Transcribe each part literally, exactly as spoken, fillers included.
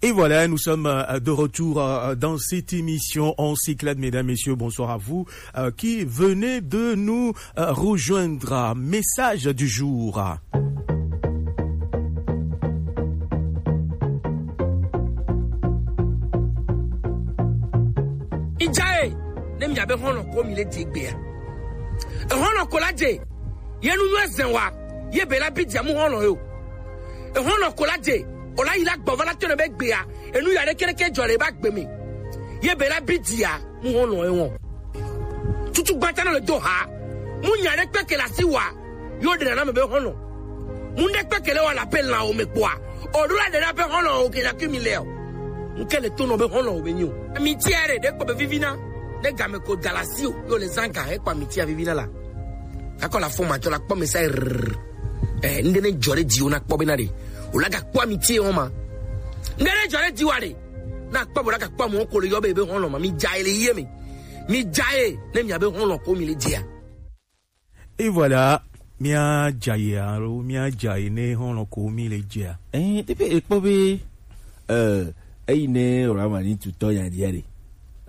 Et voilà, nous sommes euh, de retour euh, dans cette émission. On s'éclate, mesdames, messieurs. Bonsoir à vous euh, qui venez de nous euh, rejoindre. Message du jour. Ijaye, ne miabe hɔnɔ ko mi le di egbea. Ehɔnɔ ko la je, ye nu nyɔ ezen wa, ye be la bi dia mu hɔnɔ yo. Ehɔnɔ ko la je, o la yi la gbɔ va la tɔnɔ be gbea, enu ya ɖe kɛɖɛkɛ jɔ le ba gbe mi. Ye be la bi dia mu hɔnɔ ye wɔ. Tutu gbata nɔ le do ha, mu nya ɖe kpɛkɛ la si wa, yo ɖe nana me be hɔnɔ. Mu ɖe kpɛkɛ le wa la pe lan o me kpɔa, o ɖo la ɖe na be hɔnɔ o ke na ke mi le o. Nke le to nɔ be hɔnɔ o be nyi o. Mi tia ɖe ɖe kpɔ be vivi na, ne game ko da la si o, yo le zan ga he kpɔ mi tia vivi na la. Akɔ la fo ma tɔ la kpɔ mi sa rrrr. Eh, nde ne jɔ ɖe di o na kpɔ be na ɖe. O la ga kpɔ mi tie o ma. Nde ne jɔ ɖe di wa ɖe. Na kpɔ bo la ga kpɔ mo ko le yɔ be be hɔnɔ ma mi ja ele ye mi. Mi ja e ne mi abe hɔnɔ ko mi le dia. Et voilà, mia ja ye alo mia ja ye ne hɔnɔ ko mi le dia. Eh, teƒe ekpɔ be eh eyi ne Ramani tutɔ ya dia ɖe.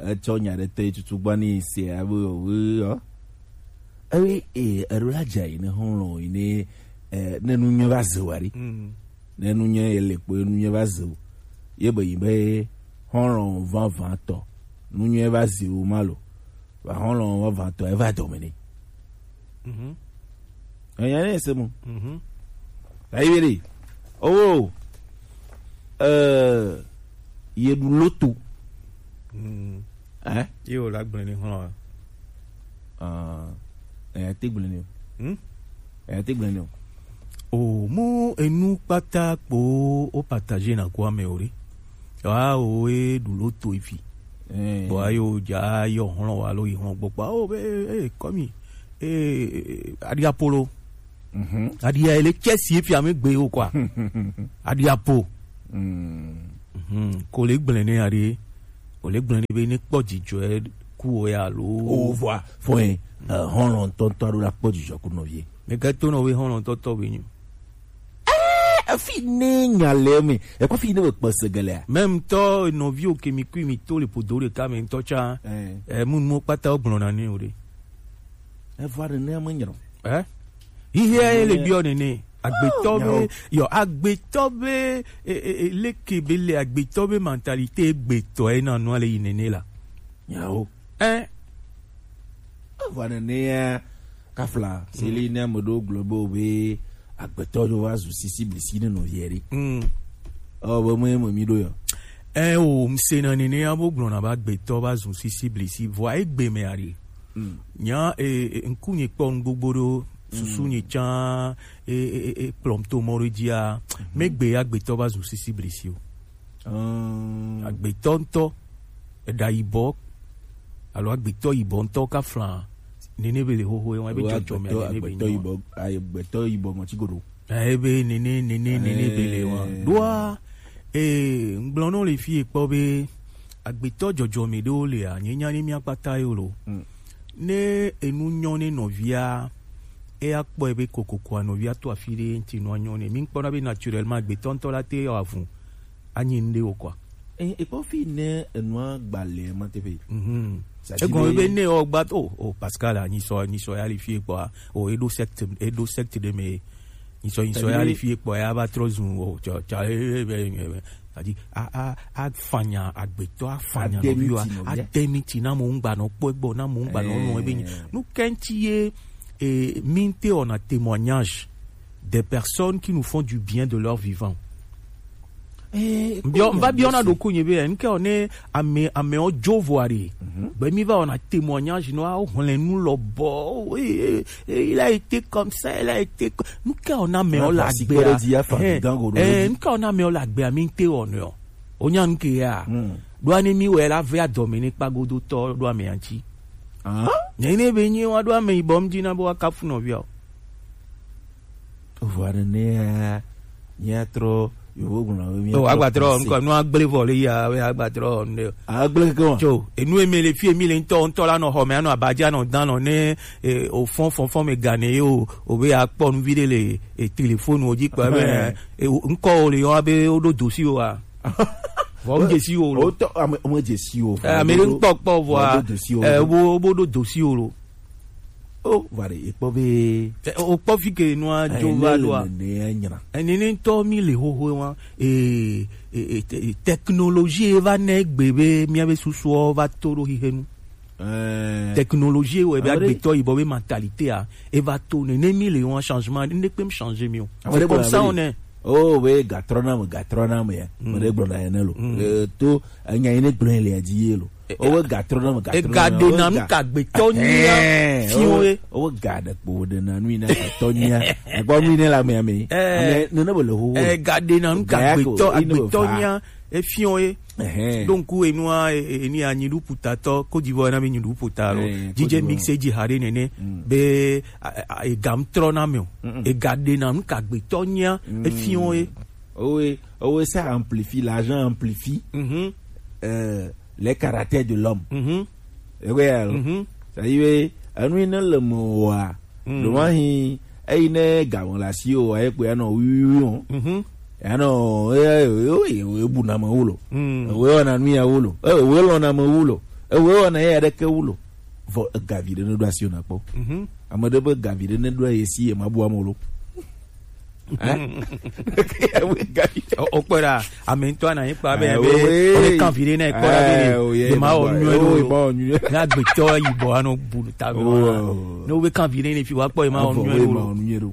Etsɔ nya ɖe te tutu gba ni se abe o. Ewe e ero la dza yi ne hɔn lɔ yi ne eh, ne nu nyɛ va ze wa ɖi. Ne nu nyɛ ye le kpo nu nyɛ va ze o. Ye be yi be hɔn lɔ va va tɔ. Nu nyɛ va ze o ma lo. Va hɔn lɔ va va tɔ e va dɔ me ne. Mhm. Enya ne se mu. Mhm. Ayi be de. Oh. Eh, ye ɖu loto. Mm. Eh? Ye o la gblẽ ni hɔn. Ah, eh, te gblẽ ni. Hmm? Eh, te gblẽ ni. O mu enu kpata kpo o partager na kwa me ori. Wa o e ɖu loto ifi. Eh. Bo ayo ja yo hɔn wa lo yi hɔn gbɔ pa o be eh, eh, komi. Eh, eh, eh, adia polo. Mhm. Aɖia ele tsɛ si efia mi gbe o kɔa. Aɖia po. Mhm. Ko le gblẽ ne aɖe, o le gblẽ ne be ne kpɔ dzidzɔe ku o ya lo. O vɔa fɔe hɔlɔntɔntɔ aɖo la kpɔ dzidzɔ ku nɔvie. Me ke to nɔ be hɔlɔntɔntɔ be nyu. Efi ne nya le me ekɔ fi ne be kpɔ segelea. Même tɔ nɔvi o ke mi kui mi to le podo ɖeka me ŋutɔ tsa. Eh, mu nuwo kpata wo gblɔna ne o ɖe. Evɔ aɖe ne me nyerɔ. Eh? Hihia ye le biɔ nene. Agbetɔ be, yo, agbetɔ be, e, e, e, leke be le agbetɔ be mentalité gbetɔ ye na nua le yi nene la. Nyawo. Eh? Evɔ nene ya kafla, si li ne ame ɖewo gblɔ be o be agbetɔ ɖo va zu sisi blisi ne nɔvia ɖe. Mm. Ɔ, be me, me mi ɖo ya. Eh, o, mse na nene ya bo gblɔ na be agbetɔ va zu sisi blisi. Vɔa egbe me aɖe. Mm. Nya e, e, ŋku nye kpɔ nu gbogbo ɖo, susu nye tsã e, e, e, e kplɔm to mɔ ɖe dzia, megbe agbetɔ va zu sisi blisi o. Agbetɔ ŋutɔ eɖa yibɔ alo agbetɔ yibɔ ŋutɔ ka fla nene be le xoxo ye wa ebe dzɔdzɔme nene be nyi wa. Agbetɔ yibɔ ŋɔti goɖo. Ebe nene nene nene be le wa ɖoa. Ee, ŋgblɔ nɔ le fi ekpɔ be agbetɔ dzɔdzɔme ɖewo lea, nye nya ne mía kpata yo lo. Ne enu nyɔ ne nɔvia, eya kpɔe be kokokoa nɔvia to afi ɖe ŋuti nua nyɔ ne. Mi kpɔna be naturellement agbetɔ ŋutɔ la te yɔ avu anyi ŋɖe wo kɔa. Eh, ekpɔ fi ne enua gbalẽ ma teƒe. Mhm. Egɔme be ne ewɔ gba to o Pascal a nyisɔ nyisɔ ya le fi kpɔa o eɖo secte eɖo secte ɖe me nyisɔ nyisɔ ya le fi kpɔa ya va trɔ zu o tsɔ tsɔ e e e e adi a a afanya agbetɔ afanya nɔviwa ademiti na mo ŋgba nɔ kpɔ egbɔ na mo ŋgba nɔ nɔ ebe nyi nu kɛntsi ye e mi te ɔna témoignage des personnes qui nous font du bien de leur vivant. Biɔ n va biɔ na ɖoku nye be n ke ne ame amewo dzo voa ɖe be mi va wɔna témoignage nɔ awo hlẽ nu lɔ bɔ il a été comme ça il a été n ke na amewo le agbea n ke na amewo le agbea mi te wɔ nɔ o nya n ke ya ɖo ani mi wɛ la ve adɔme ne kpagodotɔ ɖo amea ŋti ne ne be nyi wa ɖo ame yibɔ m dzi na be wa kafu nɔvia o. Vɔa nenea míatrɔ yevo gblɔ be míatrɔ o agbatrɔ ŋkɔ nu agble vɔ le ya be agbatrɔ ne agble ke wa tso enu eme le fie mi le ŋutɔ ŋutɔ la nɔ xɔ me anɔ abadza nɔ dan nɔ ne o fɔn fɔn fɔn me gane ye o o be akpɔ nu vi ɖe le e telefonu o dzi kpɔ be ŋkɔ o le yɔ be o ɖo dosi o wa. Vɔ, ŋdze si wo lo. Wotɔ ame ŋdze si wo. Eh, ame ɖe ŋkpɔ kpɔ vɔa, eh, wo bo ɖo do si wo lo. O va ɖe ekpɔ be, eh, o kpɔ fi ke nua dzo va ɖoa. Ne nyra. Ene ne ŋtɔ mi le xoxo wa, eh, eh, eh, te- technologie va ne gbe be mia be susuɔ va to ɖo xixe nu. Technologie wɔ ebe agbetɔ yibɔ be mentalité a eva to ne ne mi le wɔn changement ne kpem changer mi o. C'est comme ça on est. Oh, we gatrɔna me, gatrɔna me ya. Me ɖe gblɔna ene lo. Eh, to enya yi ne gblɔ le adzi ye lo. Oh, we gatrɔna me, gatrɔna me. Ega ɖe na nu ka gbetɔ nyia fiɔ ye. Oh, we ga ɖe kpo ɖe na nu yi na gbetɔ nyia. Egba nu yi ne la me ame. Ame ne ne be le ho. Ega ɖe na nu ka gbetɔ, agbetɔ nyia efiɔ ye. Ɛhɛn. Donc enua e- e- eni anyi ɖu putatɔ Côte d'Ivoire na mi nyi ɖu puta lo. Eh, Côte d'Ivoire. Dj Mix e dzi ha ɖe nene be a- a- ega ŋtrɔ na me o. Ega ɖe na nu ka gbetɔ nyia efiɔ ye. Owe owe ça amplifie, l'argent amplifie. Mhm. Euh, les caractères de l'homme. Mhm. Ewe ya lo. Mhm. Ça y est, enu yi ne le me wa. Ɖo ma hi eyi ne game le asi o, aye kpo ya nɔ wiwiwi o. Mhm. Ya nɔ e- e- e- e- e bu na me wu lo. Mm. Ewe wɔna nu ya wu lo. Ewe lɔna me wu lo. Ewe wɔna ya ɖeke wu lo. Vɔ egavi ɖe ne ɖo asi o na kpɔ. Mhm. Ame ɖe be gavi ɖe ne ɖo ye si ye ma bu ame lo. Hein? Ewe gavi. O o kpɔ ɖa ame ŋutɔ na yi kpa be Eh, be we- ele kan vi ɖe na ekpɔ ɖa be eh, oh, yeah, ye ma wɔ boy. Nyuie Oh, ɖo. Ma wɔ nyuie. Na gbetɔ yibɔ anɔ bu ta be Oh. Ne wo be kan vi ɖe ne fi wa kpɔ ye ma wɔ Avɔ nyuie we ɖo. Ma wɔ nyuie ɖo.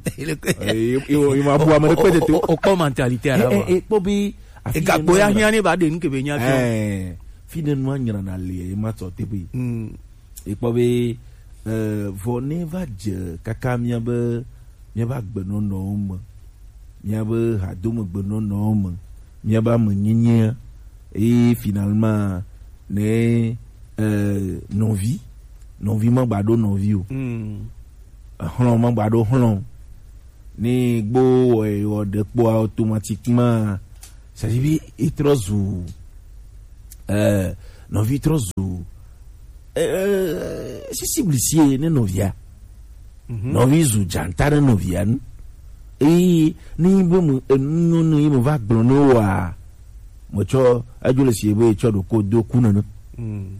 Eh, ye- ye- ye ma bu ame ɖe kpe tete. O- o- o kpɔ mentalité a la Eh, eh, wa. Eh, kpɔ be afi Egakpo ne ya ma- hiã ne ba ɖe nu ke be nya fi. Eh, fi ne nua nyra na le ye ma tɔ te be. Mm. Ekpɔ be eh, vɔ ne va dze kaka míabe míabe agbenɔnɔwo me, míabe hadomegbenɔnɔwo me, míabe amenyenyea, eye finalement ne eh, nɔvi nɔvi magba ɖo nɔvi o. Mm. Exlɔ magba ɖo xlɔ o. Ne gbo wɔ wɔ ɖe kpoa automatiquement, c'est-à-dire be etrɔ zu eh, nɔvi trɔ zu eh, sisi blisie ne nɔvia. Mhm. Nɔvi zu dzanta ne nɔvia nu. Eye ne yi be mu enu nyɔ ne yi me va gblɔ ne wa, me tsɔ edzo le sie be tsɔ ɖo ko do ku nene. Mm.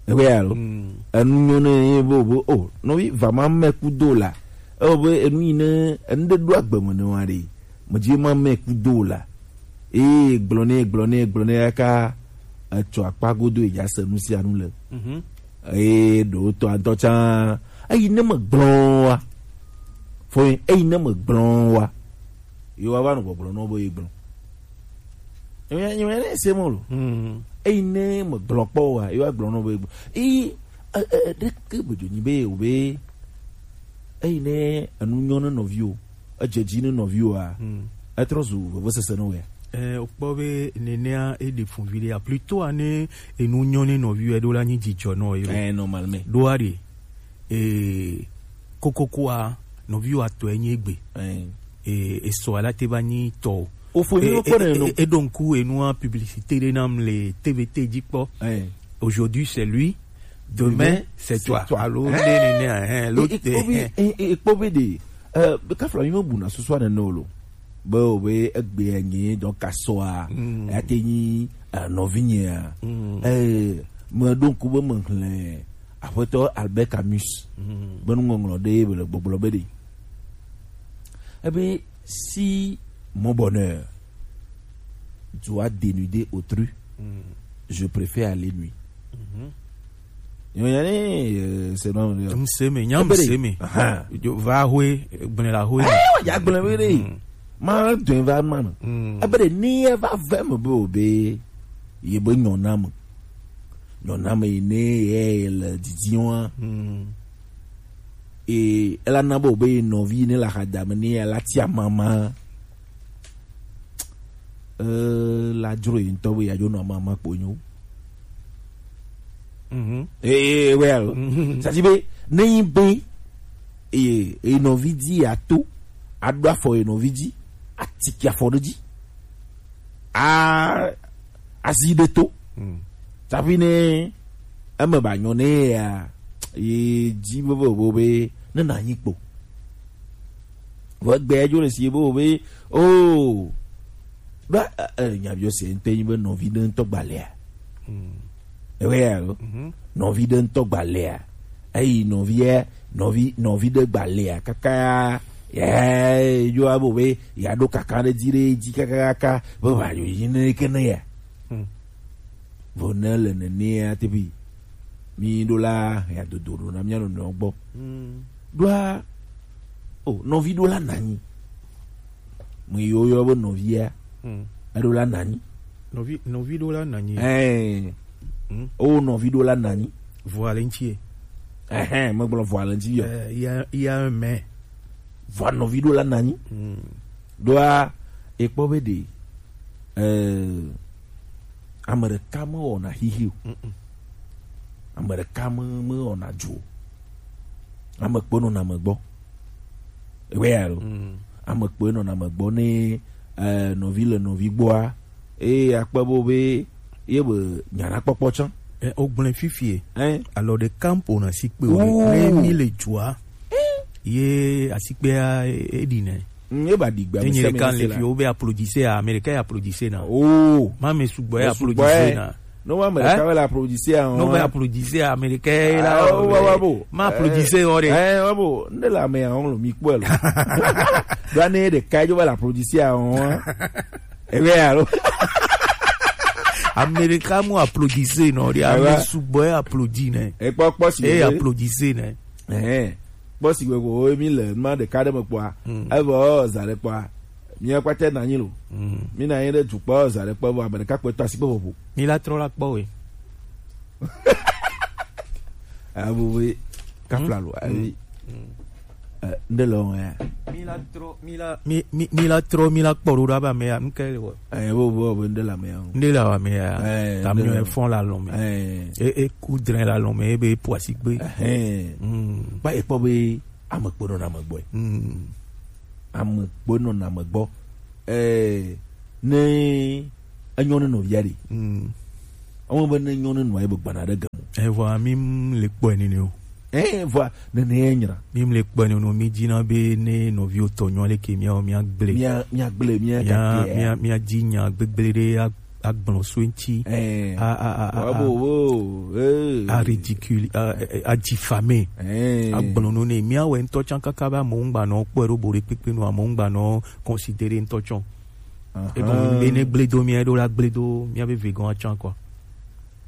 Ebe ya lo. Mm. Enu nyɔ ne yi be o be o nɔvi va ma me ku do la. Eo be enu yi ne enu ɖe ɖo agbe me ne wa ɖe. Medzi ma me ku do la. Eye gblɔ nɛ, gblɔ nɛ, gblɔ nɛ kaka etsɔ akpa godo edza se nu sia nu le. Mhm. Eye ɖewo tɔ ŋutɔ tsã, eyi ne me gblɔ wa. Fo eyi ne me gblɔ wa. Yewo va nɔ gbɔgblɔ nɔ be ye gblɔ. Nyemenya ne se mɔ lo. Mhm. Eyi ne me gblɔ kpɔ wa, yewo gblɔ nɔ be ye gblɔ. Eye e- e- ɖeke gbedzo nyi be o be eyi ne enu nyɔ ne nɔviwo. Edze dzi ne nɔviwoa, hmm, etrɔ zu vevesese ne wea? Eh, wokpɔ be nenea eɖe fun viɖe ya. Plutôt ane enu nyɔ ne nɔviwo eɖo la nyi dzidzɔ nɔ ye. Eh, normalement. Ɖoa ɖe, eh, kokokoa, nɔviwo atɔ enyi egbe. Eh. Eh, esɔ ala te va nyi tɔ o. Ofo mi kpɔ ne no. E- e- eɖo ŋku enua publicité ɖe nam le T V T dzi kpɔ. Eh. Aujourd'hui c'est lui, demain c'est toi. Alo ne ne ne hein, l'autre. Ekpɔ be de. Eh, kafla mi me buna susu ane no lo. Be o be egbe nye donc asɔa. Mm. Ya te nyi eh, nɔvinyea. Mm. Eh, me ɖo ŋku be me hlẽ Aƒetɔ Albert Camus. Mm. Be nuŋɔŋlɔ ɖe be le gbɔgblɔ be ɖe. Ebe si mon bonheur doit dénuder autrui, mm, je préfère aller nuit. Mhm. Nyɔnyɔ ne, eh, c'est non. Ŋseme, nya ŋseme. Aha. Jo va hoe, gblẽ la hoe. Eh, ya gblẽ be ɖe. Mm. Ma dɔn va ma no. Mm. Ebe ɖe ni ye va ve me be o be ye be nyɔna me. Nyɔna me yi ne ye le didi wa. Mm. E ela na be o be nɔvi ne la xadame ne ya la tia mama. Eh, la dzro yi ŋutɔ be yeadzo nɔ amama kpo nyo. Mhm. Eh, eh, well, mhm, ça dit be ne yi be eye eye nɔvi di ato aɖo afɔ ye nɔvi di atiki afɔ ɖe dzi a azi ɖe to. Mm. Tsaƒi ne eme ba nyɔ ne ya ye dzi be be be ne na nyi kpo. Vɔ egbe ya dzo le si be be o Ɖo, eh, eh, nyabiɔ se ŋutɔ nyi be nɔvi ɖe ŋutɔ gbalea. Ewe ya lo. Nɔvi ɖe ŋutɔ gbalea. Eyi nɔvia, nɔvi, nɔvi ɖe gbalea kaka ya, yo abo be ya ɖo kaka ɖe dzi ɖe dzi kaka kaka be va yo yi ne ke ne ya. Vɔ ne le nenea teƒe, mi ɖo la ya dodo ɖo na mia nɔnɔewo gbɔ. Ɖoa, o, nɔvi ɖo la nanyi. Me yiwo yɔ be nɔvia, eɖo la nanyi. Nɔvi, nɔvi ɖo la nanyi. Ɛɛ. O, nɔvi ɖo la nanyi. Vɔa le ŋuti ye. Ɛhɛn, megblɔ vɔa le ŋuti yɔ. Ɛɛ, il y a, il y a un mais. Vɔa nɔvi ɖo la nanyi. Ɖoa, ekpɔ be ɖe, ɛɛ, ame ɖeka mewɔna xixi o. Ame ɖeka me, mewɔna dzo o. Ame kpe nɔna ame gbɔ. Ewe ya lo. Ame kpe nɔna ame gbɔ ne, eh, nɔvi le nɔvi gbɔa. Eye akpe bo be ye be nyana kpɔkpɔ tsã. Eh, o gblẽ fifie. Hein? Alors de campo na si kpe o. Ouh. Ne mi le dzoa. Ye asikpea e, e ɖi nɛ. Mm, ye ba ɖi gbe. Enyi ɖeka le fi wo be applaudissé a, ame ɖeka ye applaudissé na. Oh. Ma me sugbɔ ye applaudissé na. No ma me ɖeka le applaudissé a. No be applaudissé a, ame ɖeka ye la. Ah, wa bo. Ma applaudissé o de. Eh, wa bo. Ne la me a on lo mi kpɔ lo. Do ne ɖeka jo ba la applaudissé a on. Ebe alo. Ame ɖeka mu applaudissé nɔ de, ame sugbɔ ye applaudit nɛ. Ekpɔ kpɔ si. E applaudissé nɛ. Ɛhɛn. Kpɔ si gbe ko mi le ma ɖeka ɖe me kpɔa. Evɔ za ɖe kpɔa. Mi akpata na nyi lo. Mi na nyi ɖe dukpɔ za ɖe kpɔ vɔ ame ɖeka kpɛ to asi kpɛ vovo. Mi la trɔ la kpɔ we. Abubu kafla lo. Abi. Eh, nde le wɔm ya? Mi la trɔ, mi la, mi, mi, mi la trɔ, mi la kpɔ ɖo ɖo abe ame ya, nu ke le wɔ. Eh, bo, bo, bo, nde le ame ya o. Nde le ame ya. Eh, ta mi nde le fɔn la lɔn me. Eh. E, e ku dre la lɔn me, e be po asi gbe. Eh. Mm. Ba e kpɔ be ame kpe nɔ na ame gbɔ. Mm. Ame kpe nɔ na ame gbɔ. Eh, ne enyo ne nɔvia ɖe. Mm. Ewɔ be ne enyo ne nɔa ye be gbana ɖe gemu. Evɔa mi m le kpɔe nene o. Eh, vɔa nene ye nyra. Mi m le kpɔe nene o, mi dzina be ne nɔviwo tɔ nyo leke miawo mia gble. Mia, mia gble, mia mia, gake, mia, eh. Mia dzi nya gbegble ɖe a, agblɔ so eŋti. Eh. A, a, a, a, a, bo, bo, eh. A ridicule, a, a, a diffamer. Eh. Agblɔ no ne miawo ŋutɔ tsã kaka be amewo ŋgba nɔ kpɔe ɖo bo ɖe kpekpe no, amewo ŋgba nɔ considérer ŋutɔ tsã. Ahan. Egɔme be ne gble do mía ɖo la gble do mía be vegɔn atsã kɔ.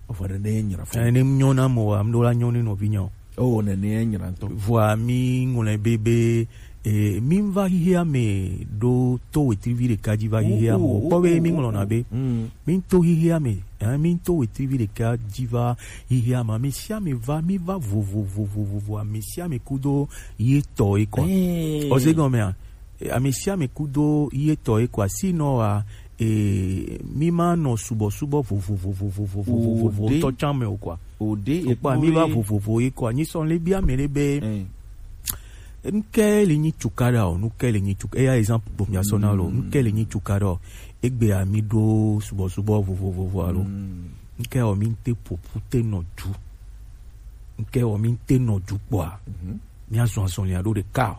Vɔ ɖe ne nyra fɔ. Ene nyɔ na mo wa, mɖo la nyɔ ne nɔvi nya o. Oh, nene nyra ŋutɔ. Vɔa mi ŋlɔe be be, eh, mi va xixia me ɖo to wetrivi ɖeka dzi va xixia me. Oh, oh, kpɔ be mi ŋlɔna be. Mm. Mi to xixia me, eh, mi to wetrivi ɖeka dzi va xixia me. Ame sia ame va, mi va vovovovovovo, ame sia ame kudo ye tɔ ye kɔ. Eh. Ɔze gɔmea? E, ame sia ame kudo ye tɔ ye kɔa, sinon wa, e, mi ma nɔ subɔsubɔ vovovovovovovovovo ŋutɔ tsã me o kɔa. Ode. Okpɔa, mi va vovovo ye kɔa. Nyi sɔ le bia me le be, eh, nuke le nyi cukaɖa o, nuke le nyi cukaɖa, eya exemple bo mia sɔ na lo, nuke le nyi cukaɖa o, egbea mi ɖo subɔsubɔ vovovovo alo. Mm. Nuke o mi te ƒoƒu te nɔ du. Nuke o mi te nɔ du kpɔa. Mhm. Mía zɔn azɔlia ɖo ɖeka o.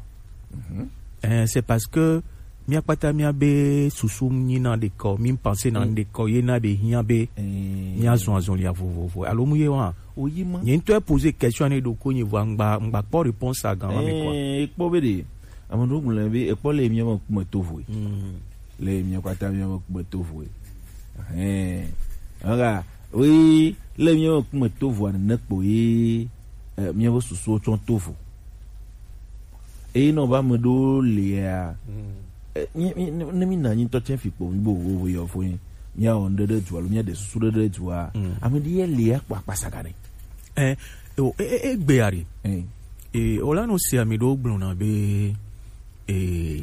Mhm. Eh, c'est parce que mía kpata mía be susu nyina ɖeka o, mi pense na ɖeka o, ye na be hiã be mía zɔn azɔlia vovovo. Alo mu ye wa? Oyi ma. Nye ŋutɔ e poser question ne ɖo ko nye vɔ ŋgba, ŋgba kpɔ réponse a gan ma me quoi. Eh, kpɔ be ɖe. Ame ɖewo gblɔe be ekpɔ le mía me kume to voe. Mm. Le mía kpata mía me kume to voe. Ɛhɛn. Ega, oui, le mía me kume to voa nene kpo ye, eh, mía be susuwo tsɔ to vo. Eye nɔ be ame ɖewo lia, mm, eh, mí, mí, ne, ne mí na anyi ŋutɔ tsɛ fi kpo mí bo vovo yɔ fo nyi. Mía wɔ ŋɖe ɖe dua alo mía ɖe susu ɖe ɖe dua. Mm. Ame ɖe ye lia kpɔ akpasa ga ne. Eh, o, e, e, e gbe ya ɖe. Eh. Eh, o la nɔ se ame ɖewo gblɔna be, eh,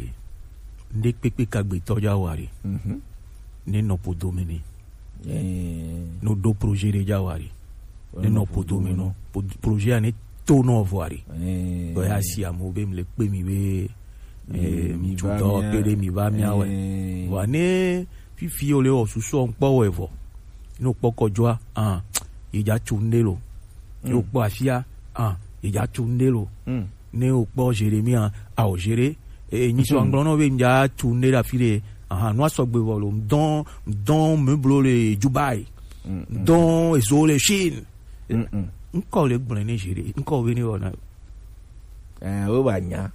ŋɖe kpekpe ka gbetɔ dza wa ɖe. Mhm. Ne nɔ podo me ne. Eh. No ɖo projet ɖe dza wa ɖe. Ne nɔ podo me nɔ. Po-, projet ya ne to nɔ vɔ ɖe. Eh. Bɔ ya si amewo be mi le kpe mi be, eh, mi tu dɔ kpe ɖe mi va mía wɛ. Eh. Vɔ ne fifi o le wɔ susu ŋkpɔ wɛ vɔ. Ne o kpɔ kɔdzɔa, ah, ye dza tu ŋɖe lo. Ne o kpɔ afia, ah, ye dza tu ŋɖe lo. Mm. Ne o kpɔ Jérémie, ah, ah, o Jéré, eh, nyi sɔ ŋgblɔ nɔ be mi dza tu ŋɖe ɖe afi ɖe, Ah, nu asɔgbe vɔ lo, ŋdɔn, ŋdɔn meblo le Dubai. Mm, mm. Ŋdɔn ezo le Chine. Mm, mm. Ŋkɔ le gblẽ ne zi ɖe, ŋkɔ be ne wɔna. Eh, wo ba nya.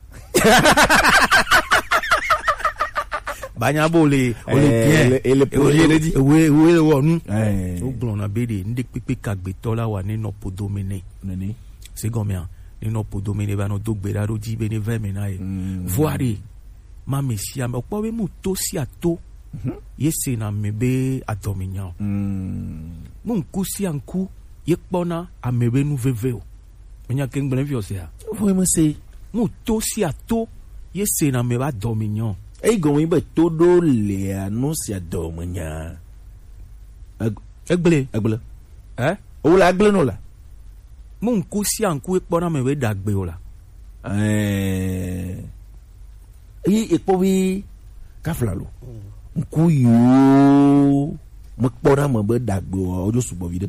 Ba nya bo le, o le Eh, bien. Le, le O le, projet le di. Ewe, ewe le wɔ nu. Eh. Wo gblɔna be ɖe, ŋɖe kpekpe ka gbetɔ la wa ne nɔ podo me nɛ. Nene. Se gɔmea, ne nɔ podo me nɛ va nɔ do gbe ɖa ɖo dzi be ne vɛ me na ye. Mm. Vɔa ɖe, ma me sia me, okpɔ be mu to sia to, Mhm. ye se na me be adɔme nya o. Mm. Mu ŋku sia ŋku, ye kpɔna ame be nu veve o. Menya ke ŋgblẽ fiɔ sia. Vɔe me se. Mu to sia to, ye se na me ba dɔ me nyɔ. Eyi gɔme be to ɖo lea nu sia dɔ me nya. Eg-, Egble. Egble. Eh? O la gble no la. Mu ŋku sia ŋku ekpɔ na me be dagbe o la. Eh. Eyi ekpɔ be kafla lo. Ŋku yo. Me kpɔ na me be dagbe o, o jo sugbɔ vi ɖe.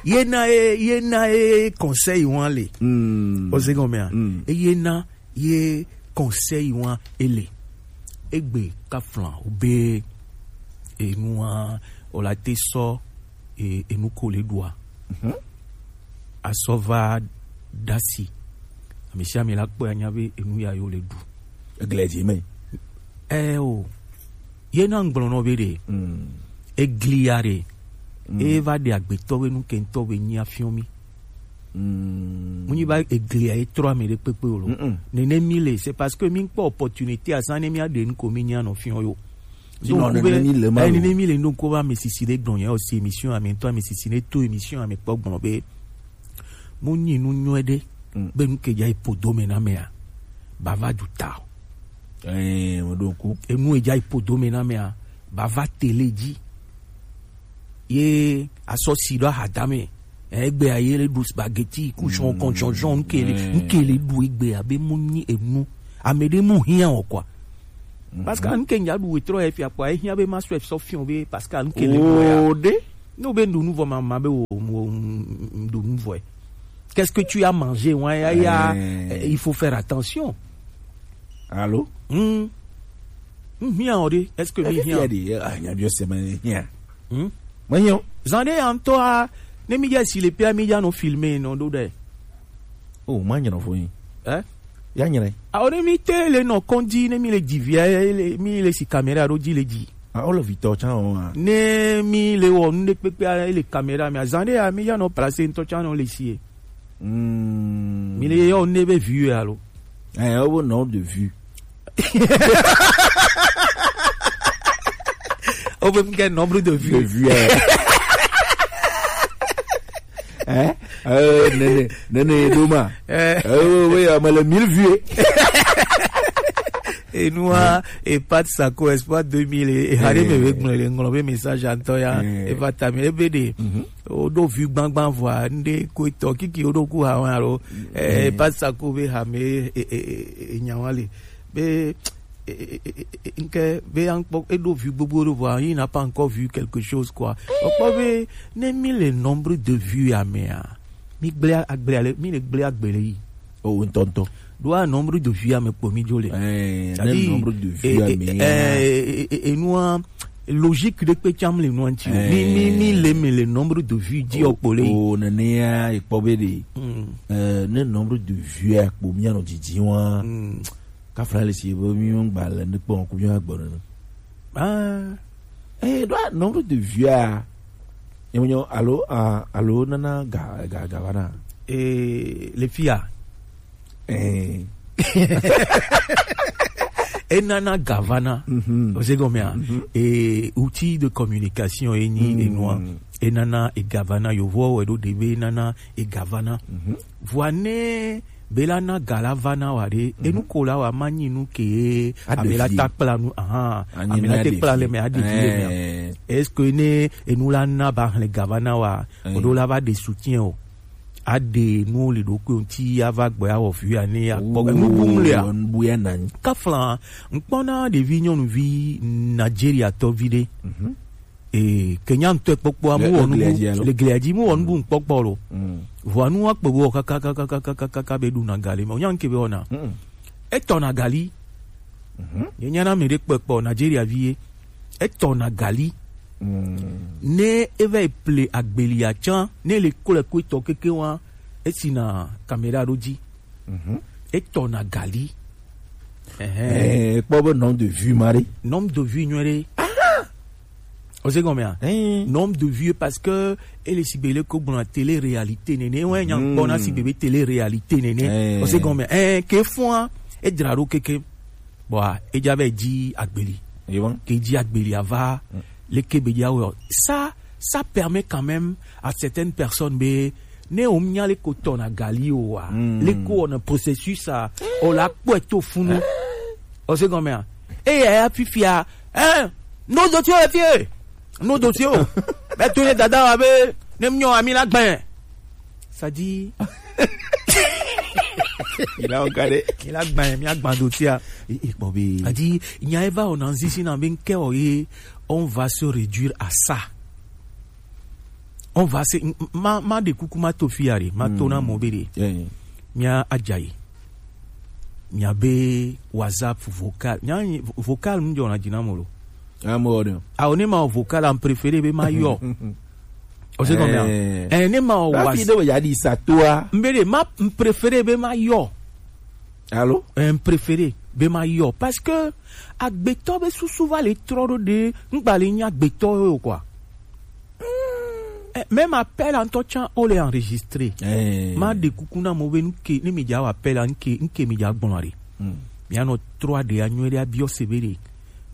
Ye na ye, ye na ye conseil wan le. Mm. O se gɔmea. Mm. Eye na ye conseil wan ele. Egbe kafla o be enua o la te sɔ e, enu ko le ɖua. Mhm. Asɔ va dasi. Ame sia ame la kpɔe anya be enu ya yo le ɖu. Egle dzi me. Eh o. Ye na ŋgblɔ nɔ be ɖe. Mm. Egli ya ɖe. Mm. E va ɖe agbetɔ be nu ke ŋtɔ be nyi afiɔ mi. Mm. Mu nyi ba eglia ye trɔ ame ɖe kpekpe o lo. Mm-mm. Nene mi le, c'est parce que mi kpɔ opportunité azan ne mi aɖe nu ko mi nya nɔ fiɔ yo. Sinon, Donc, nene be, mi le ma eh, lo. Nene mi le, donc, ko va ame sisi ɖe gblɔ nya o si émission ame ŋtɔ ame sisi ne to émission ame kpɔ gblɔ be. Mu nyi nu nyɔe ɖe. Mm. Be nu ke dza yi podo me na mea. Ba va du ta o. Eh, mo ɖo ku. Enu e dza yi podo me na mea. Ba va tele dzi. Ye asɔ si ɖo ahadame. Egbe aye le ɖu spaghetti, ku jɔn, kɔn jɔn, jɔn, nkele, Mm. nkele ɖu egbe abe mu nyi enu. Ame ɖe mu hiã o quoi. Mhm. Parce que nke nya ɖu wetrɔ efia kpɔ, ehia be ma sɔ efsɔ fiɔ be parce que nke le ɖu ya. O ɖe. No be ɖu nu vɔ ma, ma be wo, wo, ɖu nu vɔ. Qu'est-ce que tu as mangé, ouais, ya, ya, Eh. Eh, il faut faire attention. Allô? Hmm. Hmm, hiã o ɖe, est-ce que mi hiã? Efi ya ɖe, ah, nya bi o se me hiã. Hmm? Me hiã o. Zan ɖe ya ŋtɔ a, ne mi dze si le pia mi dza nɔ filme nɔ ɖo ɖe. Oh, ma nyina fo yin. Eh? Ya nyina. A o ne mi te le nɔ kɔndzi, ne mi le dzi via, le, mi le si caméra ɖo dzi le dzi. A o le vitɔ tsa o a. Ne mi le wɔ nu ɖe kpekpe a, le caméra me. Azan ɖe ya mi ya nɔ place ŋtɔ tsa nɔ le si ye. Hmm. Mi le yɔ ne be vue alo. Eh, o nom de vue. O be mi ke nombre de vue. De vue, eh. Eh? Eh, nene, nene, doma. Eh. Eh, oui, oui, ah, mais les mille vues. Enua, e Pat Sako, Espoir deux mille, e, e hari me Eh. be gblɔ, le ŋlɔ be message antɔ ya, Eh. e va ta mi, e be ɖe, Mhm. o ɖo vi gbangban vɔa, nde ko etɔ, kiki o ɖo ku ha wa lo, eh, Eh. Pat Sako be ha me, e, e, e, e, nya wa le, be, e, e, e, e, nke, be ankpɔ, e ɖo vi gbogbo ɖo vɔa, il n'a pas encore vu quelque chose, quoi. O kpɔ be, ne mi le nombre de vues ya mea, mi gblẽ agble ale, mi le gblẽ agbe le yi. O ŋutɔŋutɔ. Ɖo a nombre de vues ame kpo mi dzo le. Eh, c'est-à-dire, ne nombre de vues eh, ame eh, ya. Eh, eh, eh, enua, logique ɖe kpe tsam le nua ŋuti o. Mi, mi, mi le me le nombre de vues dzi o kpo le yi. O, o, nenea, ekpɔ be ɖe. Mm. Eh, ne nombre de vues akpo mi anɔ didi wa. Mm. Kafla le si be mi ŋgba le ne kpɔ ku mi agbɔ nene. Ah. Eh, ɖo a nombre de vues a. Nyɔnyɔ, alo, ah, alo nana ga, ga, ga vana. Eh, le fia. Eh. E nana ga vana. Mhm. O se gɔmea. Mhm. Eh, outil de communication e nyi Mhm. enua. E nana e ga vana, yovo wɛ ɖo ɖe be e nana e ga vana. Mhm. Vɔa ne be la na ga la vana wa ɖe, Mhm. enu ko la wa ma nyi nu ke Aɖe ame la vie. Ta kpla nu, ahan, Anyi ame la na te ɖe kpla vie. Le me aɖe vi le mea. Eh. Est-ce que ne enu la na ba hlẽ ga vana wa, Eh. o ɖo la va ɖe soutien o? Aɖe nu le ɖokui ŋuti ava gbɔ ya wɔ vi ya ne ya kpɔ. Oh, Enu bum le ya. Enu bu ya nanyi. Kafla, ŋkpɔna ɖevi nyɔnuvi Nigeria tɔvi ɖe. Mhm. Ee, Kenya ŋutɔ kpɔkpɔa, mu Le, wɔ le nubu, glia dzi alo? Le glia dzi, mu wɔ nubu ŋkpɔkpɔ lo. Mm. Vɔa nu wa kpe wɔ kaka, kaka, kaka, kaka, kaka be ɖuna gali me. Onya ŋke be wɔna. Mm. Etɔna gali. Ye nyana mi ɖe kpekpe o, Nigeria vi ye. Etɔ na gali. Ne eva yi ple agbelia tsã, ne le klo ko etɔ keke wa, esi na caméra ɖo dzi. Etɔ na gali. Ɛhɛn. Eh, kpɔ be nom de vue ma ɖe. Nom de vue nyuie ɖe. O se gɔmea? Nom de vue parce que ele sigbe le ko gbɔna télé réalité nene. Wɛ nya gbɔna sigbe be télé réalité nene. O se gɔmea? Eh, ke fua, e dra ɖo keke. Bon, ah, e dza vɛ dzi agbeli. Ke dzi agbeli ava, le ke be dza wɛ. Ça, ça permet quand même à certaines personnes be ne o nya le ko tɔ na gali o wa. Le ko on processus a, o la kpɔ to funu. O se gɔmea? E ya ya fifia. Eh, no dossier o fie. No dossier o. Be to ne dada wa be ne mnyo ami la gbɛn. Ça dit, il a encadré. Il a gbɛn, mi a gbɛn dossier a. E, e kpɔ be. A dit, nya eva o na nzisi na be nke o ye, on va se réduire à ça. On va se, m-, m-, ma, ma de kuku ma to fiare, ma to na mo be de. Mi a ajayi. Mi a be WhatsApp vocal. Mi a vocal mi jɔ na dina mo lo. Amo ɖe. Awo ne ma wɔ vocal a, m préféré be ma yɔ. O se gɔmea? Eh, ne ma wɔ wa fi de ya di sa toa. M be de ma, m préféré be ma yɔ. Allô? Eh, m préféré be ma yɔ parce que agbetɔ be susu va le trɔ ɖo de ngba le nya agbetɔ yo quoi. Eh, même appel en tout temps on les enregistré. Ma de kuku na mo be nke ne mi ja wa appel nke nke mi ja gbɔn are. Mi anɔ trɔ de anyuie de abiɔ se be de.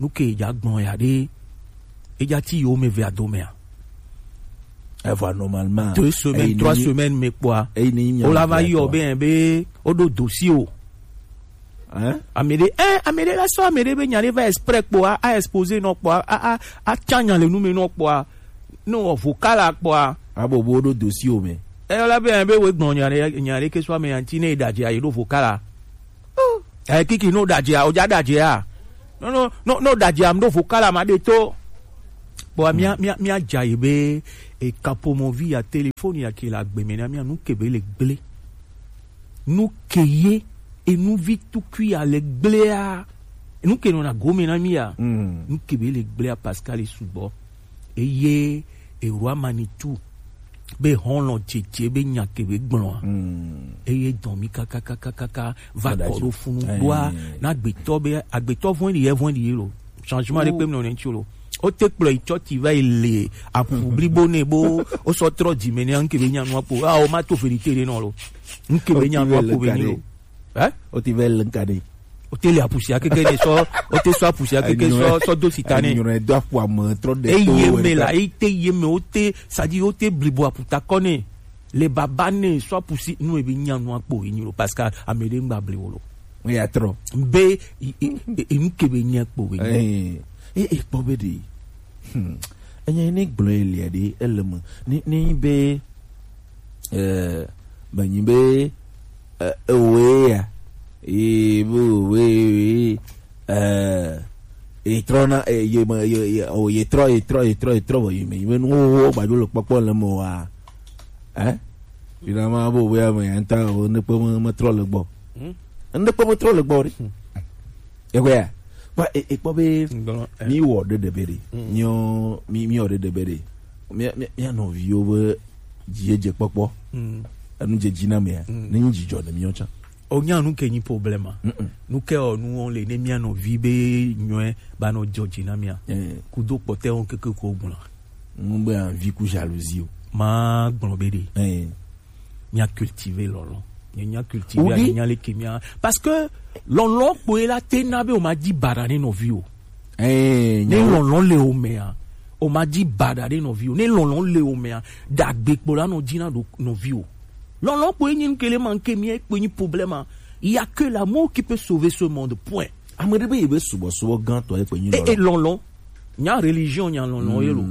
Nu ke dza gbɔn ya ɖe, edza ti yiwo me ve ado mea? Evɔ normalement deux semaines, trois semaines me kpɔa, o la va yɔ be be o ɖo dossier o. Hein? Ame ɖe, eh, ame ɖe la sɔ ame ɖe be nya ɖe va exprès kpɔa, a exposé nɔ kpɔa, a a a tsa nya le nu me nɔ kpɔa, no wɔ vocal a kpɔa. Abo bo ɖo dossier o me. E la be be we gbɔn nya ɖe nya ɖe ke sɔ ame ya ŋti ne e ɖadze a yi ɖo vocal a. Eh, kiki no ɖadze a, o dza ɖadze a. No, no, no, no ɖadze a, m ɖo vocal a ma ɖe to. Bon, mia, mia, mia dza yi be, e kapomovi ya téléphone ya ke la gbe me na mia nu ke be le gble. Nu ke ye, e nu vi tukui ya le gblea. Nu ke nɔ na gome na mi ya. Nu ke be le gblea Pascal e sugbɔ. Eye Eroi Manitou be hɔn lɔ dzedze be nya ke be gblɔa. Eye dɔn mi kakakakaka va kɔ ɖo funu ɖoa na agbetɔ be agbetɔ vɔn ɖi yɛ vɔn ɖi yɛ lo. Changement ɖe kpe mi nɔ ne ŋtsi lo. O te kplɔ yi tsɔtsi va yi le apu blibo ne bo o sɔ trɔ dzi me ne ŋke be nya nua kpo. A o ma to vérité ɖe nɔ lo. Ŋke be nya nua kpo be ni lo. Eh? O ti vɛ le ŋka ɖe. O te le apusia keke ne sɔ, o te sɔ apusia keke sɔ, sɔ do sita ne. Nyɔnɔ do apu ame trɔ de. Eye me la, e te ye me, o te, sadi o te blibo aputa kɔ ne. Le baba ne sɔ apusi nu e be nya nu akpo e nyi lo parce que ame ɖe ŋgba bli wo lo. Ŋ ya trɔ. Be e, e, e, e nu ke be nya kpo be nyi. Eh, e, e kpɔ be ɖe. Hmm. Enye ne gblɔ elia ɖe ele me. Ne, ne be, eh, menyi be, eh, ewoe ya. Ye be owe, eh, ye trɔ na, eh, ye me, ye, ye, o, ye trɔ, ye trɔ, ye trɔ, ye trɔ, vɔ ye me, ye me nu wo, wo gbadzo le kpɔkpɔ le me wa. Eh? Finalement, bo owe ya me ya ŋutɔ, o, ne kpe me, me trɔ le gbɔ. Hmm? Ne kpe me trɔ le gbɔ ɖe. Hmm. Egbea, kpɔ, e, e, kpɔ be mi wɔ ɖe ɖe be ɖe. Nyɔ, mi, mi wɔ ɖe ɖe be ɖe. Mi, mi, mi nɔviwo be dzi ye dze kpɔkpɔ. Enu dze dzi na mea, ne nyi dzidzɔ ne mi tsã. O nya nu ke nyi problème a. Nu ke o nu wo le ne mi nɔvi be nyɔe ba nɔ dzɔ dzi na mea. Kudo kpɔtɛ wo keke ko gbɔna. Mu be envie ku jalousie o. Ma gbɔn be ɖe. Mia cultiver lɔlɔ. Mia cultiver, mia le ke mia. Parce que lɔlɔ kpo ye la te na be o ma di bara ne nɔvi o. Eh, ne lɔlɔ le o mea, o ma di bara ne nɔvi o. Ne lɔlɔ le o mea, dagbe kpo la nɔ di na do nɔvi o. Lɔlɔ kpo ye nyi nkele man ke mia kpo nyi problème a. Il y a que l'amour qui peut sauver ce monde. Point. Ame ɖe be ye be subɔsubɔ gãtɔ ye kpe nyi lɔlɔ. E lɔlɔ. Nya religion nya lɔlɔ ye lo.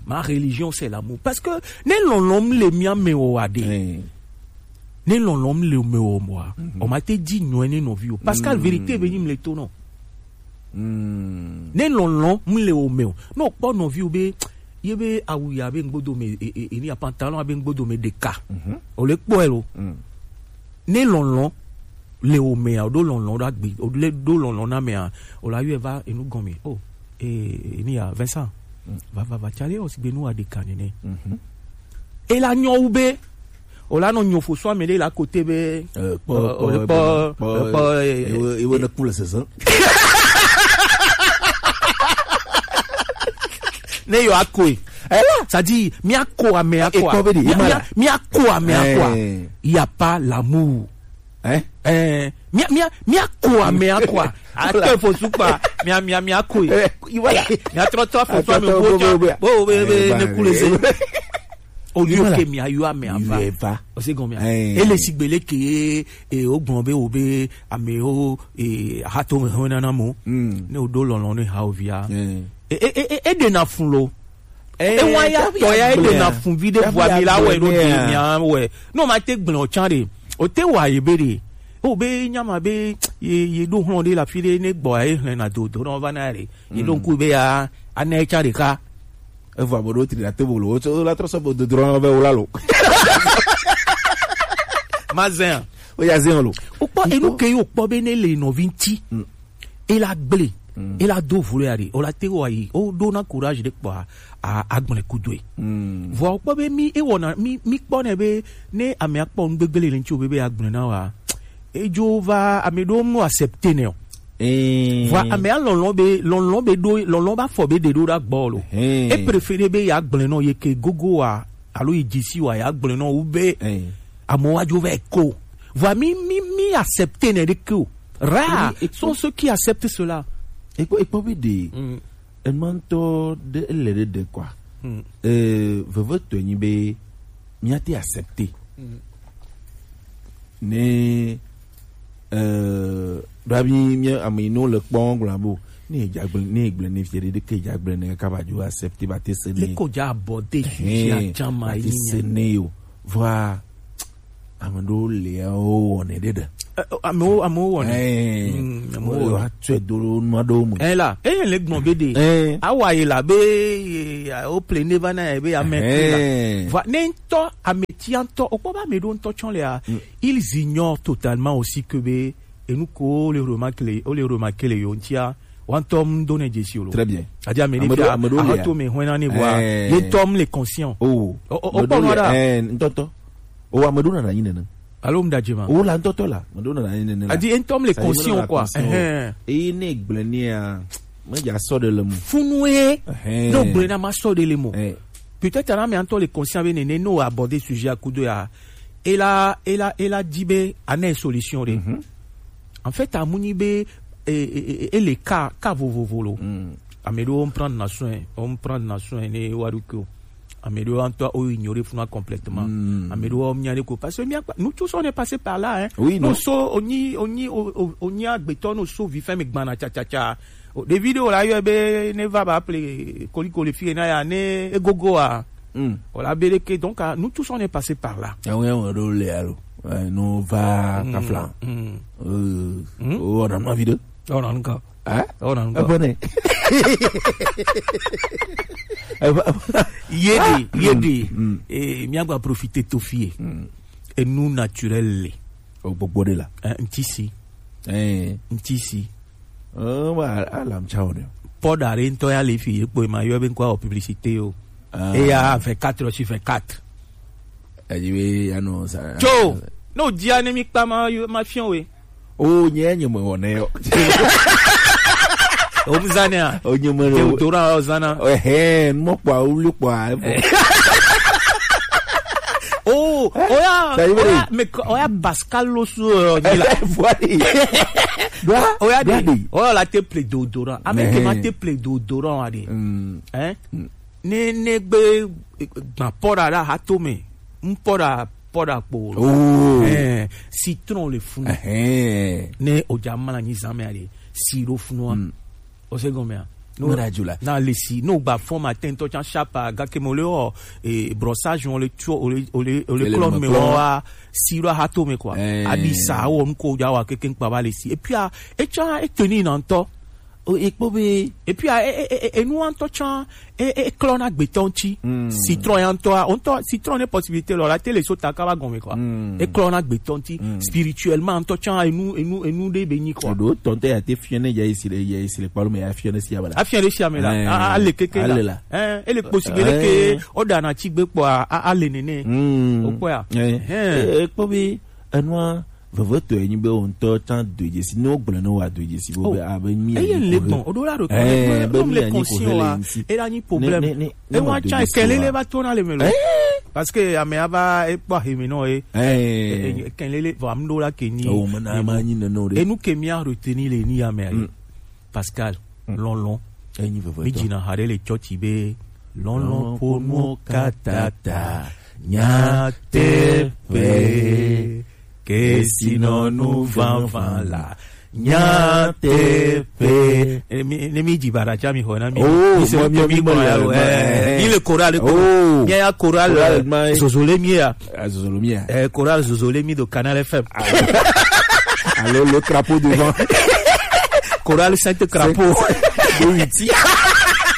Ma religion c'est l'amour. Parce que ne lɔlɔ m le mia me o wa de. Ne lɔlɔ m le me o mo a. O ma te di nyɔe ne nɔvi o. Pascal vérité be nyi m le to nɔ. Ne lɔlɔ m le o me o. No kpɔ nɔvi o be ye be awu ya be ngbodo me e, e, e ni a pantalon a be ngbodo me ɖeka. O le kpɔ e lo. Ne lɔlɔ Le o mea, o ɖo lɔlɔ̃ ɖo agbe, o le ɖo lɔlɔ̃ na mea, o la yɔe va enu gɔme. O, e, e, ni ya, Vincent. Mm. Va, va, va, cale o sigbe nu wa ɖeka nene. Mhm. E la nyɔ wu be, o la nɔ nyɔ fo so ame ɖe la kote be, eh, kpɔ, eh, kpɔ, o le kpɔ, kpɔ, kpɔ, eh, ewe, ewe ne ku le sese. Ne yo akoe. Ela. C'est-à-dire, mi ako ame ako. E kpɔ be di, mi, e ma mi, la. Mi ako ame ako. Eh. Il y a pas l'amour. Hein? Eh, mia, mia, mia ko ame akwa. Ato fo sukpa. Mia, mia, mia ko. Eh, voilà. Mia trɔ trɔ fo so ame bo ja. Bo, bo, bo, eh, ne kule se. O lieu que mia yo ame ava. O se gon mia. Eh. E le sigbele ke, e o gbɔn be o be ame o, e ha to me ho na na mo. Mm. Ne o ɖo lɔlɔ̃ ne ha o via. Eh. E, e, e, e, e ɖe na fun lo. Eh, e wa ya tɔ ya e ɖe na fun vi ɖe vua mi la wɛ ɖo di mia wɛ. No ma te gblẽ o can ɖe. O te wa ye be ɖe. O be nyama be ye, ye ɖo hlɔ̃ ɖe la fi ɖe ne gbɔ ye hlẽ na do do na va na ɖe. Ye ɖo ŋku be ya ana ye can ɖeka. Evɔ abo ɖo tri la te bolo. O la trɔ sɔ bo do do na be o la lo. Ma zɛn. O ya zɛn lo. O kpɔ enu ke yo kpɔ be ne le nɔvi ŋti. Mm. E la gble, mm, e la do vlo ya ɖe, o la te wa yi, o ɖo na courage ɖe kpɔ a, a, agblẽ kudoe. Mm. Vɔ o kpɔ be mi, e wɔna, mi, mi kpɔ nɛ be, ne ame akpɔ nu gbegble le ŋti o be, be agblẽ na wa, e dzo va, ame ɖo mu accepter nɛ o. Eh. Vɔ ame a lɔlɔ̃ be, lɔlɔ̃ be ɖo, lɔlɔ̃ ba fɔ be ɖe ɖo ɖa gbɔ lo. Eh. E préférer be ya gblẽ nɔ ye ke gogo wa, alo yi dzi si wa ya gblẽ nɔ wu be, eh, amewo wa dzo va ko. Vɔ mi, mi, mi accepter nɛ ɖeke o. Rare sont ceux qui acceptent cela. Ekpɔ, ekpɔ be ɖe, mm, enua ŋutɔ ɖe ele ɖe ɖe kɔa. Mm. Eh, veve tɔe nyi be mia te accepter. Mm. Ne, eh, ɖo abi mi ame yi no le kpɔ gblɔ bo. Ne dza gblẽ, ne gblẽ ne fie ɖe ke dza gblẽ ne kaka ba dzo accepter ba te se ne. Le ko dza abɔ de. Hein, ba te se ne yo. Vɔa, ame ɖewo le ya wo wɔnɛ ɖe ɖe. Eh, amewo, amewo wɔnɛ. Eh, mm, amewo wɔnɛ. Wa tsɔe do ɖo nua ɖewo me. Eh la, eye le gbɔn be ɖe. Eh. Awa yi la be, eh, o ple ne va na ye be ame kli la. Eh. Va ne ŋutɔ, ame tia ŋutɔ, o kpɔ be ame ɖewo ŋutɔ tsɔ le ya. Mm. Ils ignorent totalement aussi que be, enu ko le remarquer le, o le remarquer le yo ŋtia. Wa ŋutɔ mu do ne dzesi o lo. Très bien. Adi ame ɖe fia, ame ɖewo le ya. Ahato me hwena ne vɔa. Eh. Ye ŋutɔ mu le conscient. Oh. O, o, o kpɔ nua ɖa. Eh, ŋutɔtɔ. O, ame ɖewo nana nyi nene. Alo mu da dzi ma. O, la ŋutɔtɔ la. Ame ɖewo nana nyi nene la. Adi ye ŋutɔ mu le conscient o quoi. Eye ne gblẽ nea, me dza sɔ ɖe le mo. Funu ye. Ehɛn. Ne gblẽ na ma sɔ ɖe le mo. Eh. Peut-être na mi ŋutɔ le conscient be nene, no aborder sujet a kudo ya. E la, e la, e la di be, a ne solution ɖe. Mhm. En fait, amu nyi be, e, e, e, e le ka, ka vovovo lo. Mm. Ame ɖewo prendre na soin, o prendre na soin ne wa ɖo ko. Ame ɖewo ŋutɔ o ignorer funa complètement. Mm. Ame ɖewo mia ne ko. Parce que mia, nous tous on est passé par là, hein. Oui, non. No so, o nyi, o nyi, o, o, o nyi agbetɔ, no so vi fɛn mi gbana tsa, tsa, tsa. O, ɖevi ɖewo la yɔe be ne va ba ple koliko le fie na ya ne egogo a. Mm. O la be ɖeke, donc, ah, nous tous on est passé par là. Ewe, ewe ɖo le alo. Eh, no va kafla. Mm. Euh, mm. O, on a envie de. On a encore. Hein? On a encore. Abonné. Aba-, aba-, ye de, ye de. Mm. Eh, mia gba profiter to fie. Mm. Et nous naturel le. O gbogbo de la. Eh, ŋti si. Eh. Ŋti si. Eh, wa, alam chao de. Pɔ da re ŋutɔ ya le fi ye kpɔe ma yɔ be ŋkɔ publicité o. Ah. E ya vingt-quatre heures sur vingt-quatre. Eyi be ya no sa. Tso, no dia ne mi kpa ma yo, ma fiɔn we. O nye nye me wɔ ne yo. O mu zane a? O nye me. Te o dora o zana. Ehe, mo kpɔ o lu kpɔ a. Oh, oya, oya, mais oya Pascal lo su, euh, ni la. Voilà. Oya de, oya la te ple déodorant. Avec ma te ple déodorant, wa de. Mm. Hein? Mm. Ne, ne gbe, eh, gba pɔra la ha to me. M pɔra, pɔra kpo. Oh. Eh, citron le fun. Eh. Ne o ja mala ni zame ale. Siro fun wa. Mm. O se gɔmea. No, na radio la. Na lesi, no gba fɔ matin tɔ can chapa, ga ke mo le o, e, brossage, o le tuo, o le, o le, o le clone me wa, siro ha to me quoi. Eh. Abi sa, o nko ja wa keke nkpa ba lesi. Et puis, ah, e can, e tenir na ŋutɔ. O, e kpɔ be. Et puis, ah, e, e, e, e, enu ŋutɔ tsã, e, e, e klɔna gbetɔ ŋuti. Mm. Citron ya ŋutɔa, o ŋutɔ, citron ne possibilité lɔ la, te le so ta kaba gɔme quoi. Mm. E klɔna gbetɔ ŋuti. Mm. Spirituellement ŋutɔ tsã, enu, enu, enu ɖe be nyi quoi. Eɖo tɔn te ya te fiɔ ne ya esi le, ya esi le kpalo me ya fiɔ ne si abala. Afia ɖe sia me la, eh, a, a le keke la. Ale la. Eh, ele possible ke o da na tsi gbe kpɔ a, a, a le nene. Mm. O kpɔ ya. Eh. Eh. E, e kpɔ be enua vevetɔe nyi be wo ŋutɔ tsã do dzesi, ne wogblɔ ne woa do dzesi, bo be abe mi eye le gbɔn, o ɖo la ɖo eh, be mi le anyi ko conscient hele wa, ŋuti. E la nyi problème. Ne, ne, ne, e wa tsa kelele va to na le me lo. Eh? Parce que ame ava e kpɔ aheme nɔ ye. Eh. E, e, kelele, vɔ, am ɖo la ke nyi. O, me na ma nyi nene o ɖe. Enu ke mi a retenir le ni ya me ayi. Mm. Pascal, mm, lɔlɔ̃. Enyi veve. Mi dzina ha ɖe le tsɔtsi be lɔlɔ̃ ƒo nuwo katã ta. Nyateƒe. Kesinɔnu vavã la. Nyateƒe. Eh, mi, ne mi dzi baɖa tsa mi xɔ na mi. Oh, mi se mo, mi, mi, mi, mo, ya lo, eh, eh, mi le chorale ko. Oh. Mi ya chorale, chorale, eh, ma. Zozole mi ya. Ah, Zozolo mi ya. Eh, chorale Zozole mi do Canal F M. Alo le crapaud devant. Chorale Sainte Crapaud. Sainte de Witi.